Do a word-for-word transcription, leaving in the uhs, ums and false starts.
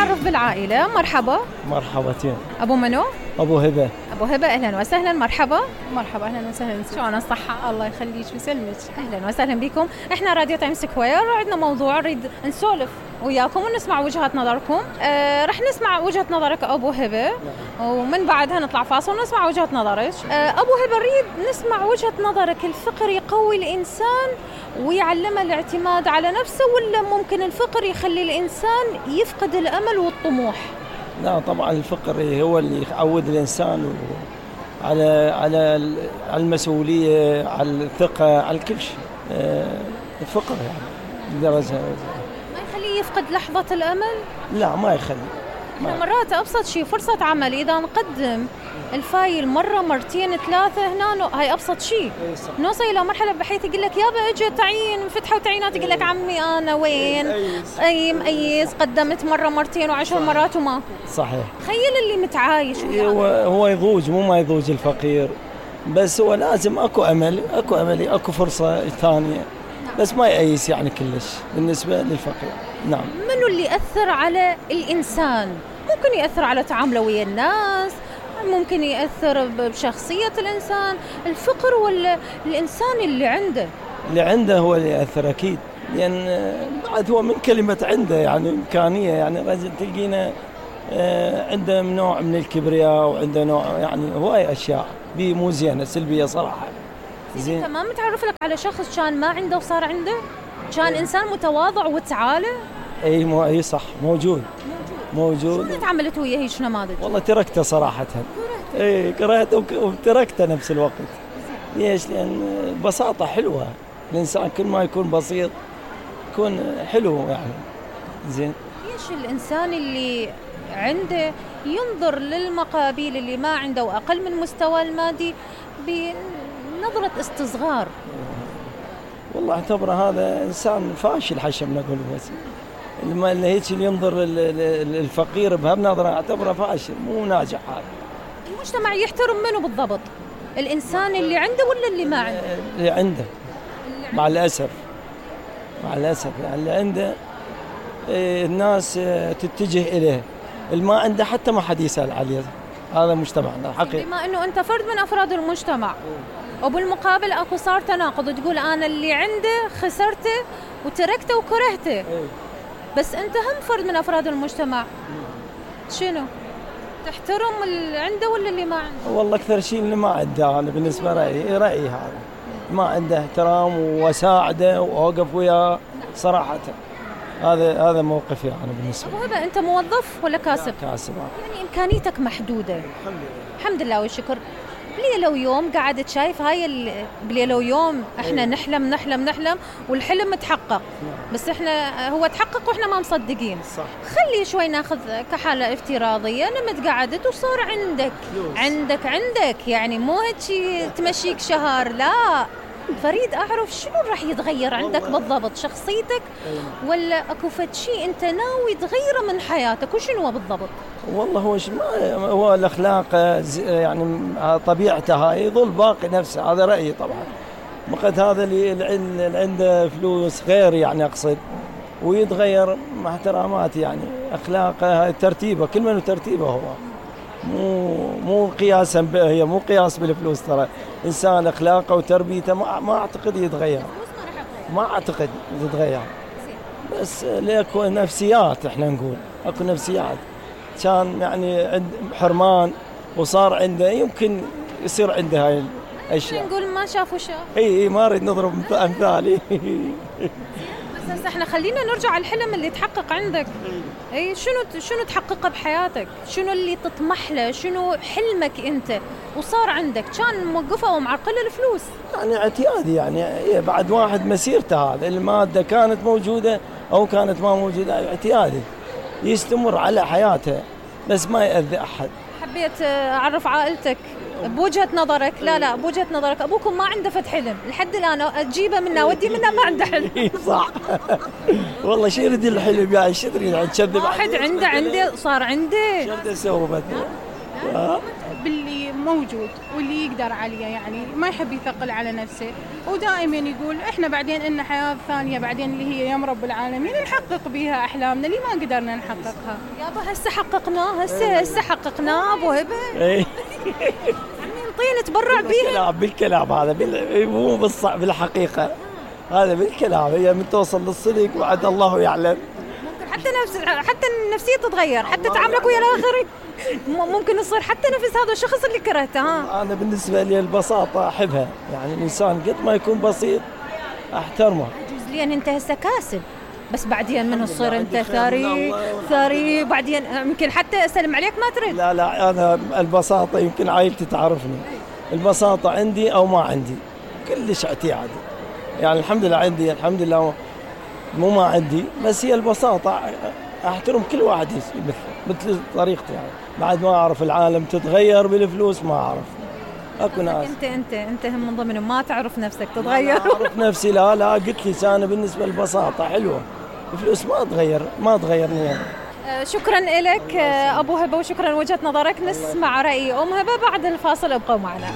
نتعرف بالعائلة. مرحبا. مرحبتين. أبو منو؟ أبو هبة. أبو هبة، أهلا وسهلا. مرحبا. مرحبا، أهلا وسهلا. شلون الصحة؟ الله يخليك ويسلمك. أهلا وسهلا بكم. إحنا راديو تايم سكوير، عندنا موضوع نريد نسولف وياكم ونسمع وجهات نظركم. آه رح نسمع وجهة نظرك أبو هبة، ومن بعدها نطلع فاصل ونسمع وجهة نظرك. آه أبو هبة، نريد نسمع وجهة نظرك. الفقر يقوي الإنسان ويعلمه الاعتماد على نفسه، ولا ممكن الفقر يخلي الإنسان يفقد الأمل والطموح؟ لا طبعا الفقر هو اللي يعود الإنسان على على على المسؤولية، على الثقة، على كل شيء. آه الفقر يعني درجة ما يخليه يفقد لحظة الأمل؟ لا ما يخلي. ما مرات أبسط شيء فرصة عمل، إذا نقدم الفايل مرة مرتين ثلاثة هنا هاي أبسط شيء، نوصل إلى مرحلة بحيث يقول لك يابا اجى تعيين فتحوا تعيينات، يقول لك عمي أنا وين؟ أي مأيز، قدمت مرة مرتين وعشر مرات وما. صحيح. تخيل اللي متعايش. هو هو يضوج، مو ما يضوج الفقير، بس هو لازم أكو أمل، أكو أمل، أكو فرصة ثانية، بس ما يأيس يعني كلش بالنسبة للفقير. نعم. منو اللي يأثر على الإنسان؟ ممكن يأثر على تعامله ويا الناس، ممكن يأثر بشخصية الإنسان. الفقر ولا الإنسان اللي عنده؟ اللي عنده هو اللي يأثر أكيد، لأن بعد هو من كلمة عنده يعني إمكانية، يعني رجل تلقينا عنده نوع من الكبرياء، وعنده نوع يعني هواي أشياء بي مو زينة سلبية صراحة. زين. أنت ما متعرف لك على شخص كان ما عنده وصار عنده؟ كان إيه؟ إنسان متواضع وتعالى؟ أي مو أي صح، موجود موجود. شو تعاملت وياه هيك نماذج؟ والله تركته صراحة. اي كرهته وتركته نفس الوقت. ليش؟ لأن البساطة حلوة، الإنسان كل ما يكون بسيط يكون حلو يعني. زين. ليش الإنسان اللي عنده ينظر للمقابيل اللي ما عنده وأقل من مستوى المادي بنظرة استصغار؟ والله اعتبره هذا إنسان فاشل حشم نقول، بس اللي هيك اللي ينظر الفقير بهالنظرة اعتبره فاشل، مو ناجح. هذا المجتمع يحترم منه بالضبط؟ الإنسان اللي عنده ولا اللي ما عنده؟ اللي عنده. مع الأسف مع الأسف يعني اللي عنده الناس تتجه إليه، اللي ما عنده حتى ما حد يسأل عليه. هذا مجتمعنا حقيقي. بما إنه أنت فرد من أفراد المجتمع، وبالمقابل أكو صار تناقض، تقول أنا اللي عنده خسرته وتركته وكرهته، بس أنت هم فرد من أفراد المجتمع، شنو؟ تحترم اللي عنده ولا اللي ما عنده؟ والله أكثر شيء اللي ما عنده، أنا بالنسبة رأيي رأيي هذا ما عنده احترام وساعده وأوقف وياه صراحة. هذا هذا موقفي أنا بالنسبة. أبو هبة، أنت موظف ولا كاسب؟ كاسب. يعني إمكانيتك محدودة. الحمد لله. الحمد لله والشكر. بليلة ويوم قاعد شايف هاي بليلة ويوم احنا أيه. نحلم نحلم نحلم والحلم متحقق. نعم. بس احنا هو تحقق واحنا ما مصدقين. صح. خلي شوي ناخذ كحالة افتراضية، نمت قعدت وصار عندك فلوس. عندك عندك يعني مو هيك تمشيك شهر، لا. فريد أعرف شنو راح يتغير عندك بالضبط، شخصيتك ولا أكو فد شيء أنت ناوي تغيره من حياتك، وشنو هو بالضبط؟ والله هو ما هو الأخلاق يعني طبيعته هاي يظل باقي نفسه، هذا رأيي طبعا. وقد هذا اللي عنده فلوس غير يعني أقصد ويتغير مع احترامات يعني أخلاقه، ترتيبه، كل من ترتيبه هو مو مو قياسا، هي مو قياس بالفلوس. ترى إنسان أخلاقه وتربيته ما ما أعتقد يتغير، ما أعتقد يتغير، بس لأكو نفسيات، إحنا نقول أكو نفسيات. كان يعني عند حرمان وصار عنده يمكن يصير عنده هاي الأشياء. نقول ما شاف وشاف. إي إي ما أريد نضرب أمثالي. بس احنا خلينا نرجع على الحلم اللي تحقق عندك. اي شنو شنو تحققه بحياتك؟ شنو اللي تطمح له؟ شنو حلمك انت وصار عندك؟ كان موقفه ومعرقله الفلوس. يعني اعتيادي يعني بعد واحد مسيرته، هذا المادة كانت موجودة أو كانت ما موجودة، اعتيادي يستمر على حياته بس ما يأذي أحد. حبيت أعرف عائلتك بوجهة نظرك. لا لا بوجهة نظرك أبوكم ما عنده فت حلم لحد الآن، أجيبه منه ودي منه ما عنده حلم. صح. والله شو يريد الحلم يعني؟ شو تريد تكذب؟ واحد عنده عنده صار عنده. شو بده يسوي مثلا؟ باللي موجود واللي يقدر عليه، يعني ما يحب يثقل على نفسه، ودائما يقول احنا بعدين إن حياة ثانية بعدين اللي هي يم رب العالمين نحقق بيها احلامنا اللي ما قدرنا نحققها. يابا هسه حققناه، هسه هسه حققناه ابو هبه. اي عمي نطيه نتبرع بيها. بالكلام بالكلام هذا بال... مو بالص... بالحقيقه، هذا بالكلام. هي من توصل للصدق وعد الله يعلم. ممكن حتى نفس حتى النفسيه تتغير، حتى تعاملك ويا الاخرين ممكن يصير حتى نفس هذا الشخص اللي كرهته. ها انا بالنسبه لي البساطه احبها، يعني الانسان قد ما يكون بسيط احترمه. جزئيا انت هسه كاسب، بس بعدين من تصير انت ثري ثري بعدين يمكن حتى اسلم عليك ما تريد. لا لا انا البساطه يمكن عائلتي تعرفني، البساطه عندي او ما عندي كلش اعتيادي، يعني الحمد لله عندي الحمد لله مو ما عندي، بس هي البساطه احترم كل واحد مثل مثل طريقتي، يعني بعد ما اعرف العالم تتغير بالفلوس ما اعرف اكو ناس. انت انت انت هم من ضمن ما تعرف نفسك تتغير. لا اعرف نفسي، لا لا قلت لي انا بالنسبه للبساطه حلوه، الفلوس ما تغير ما تغيرني يعني. شكرا لك ابو هبه وشكرا وجهه نظرك. نسمع راي ام هبه بعد الفاصل، ابقوا معنا.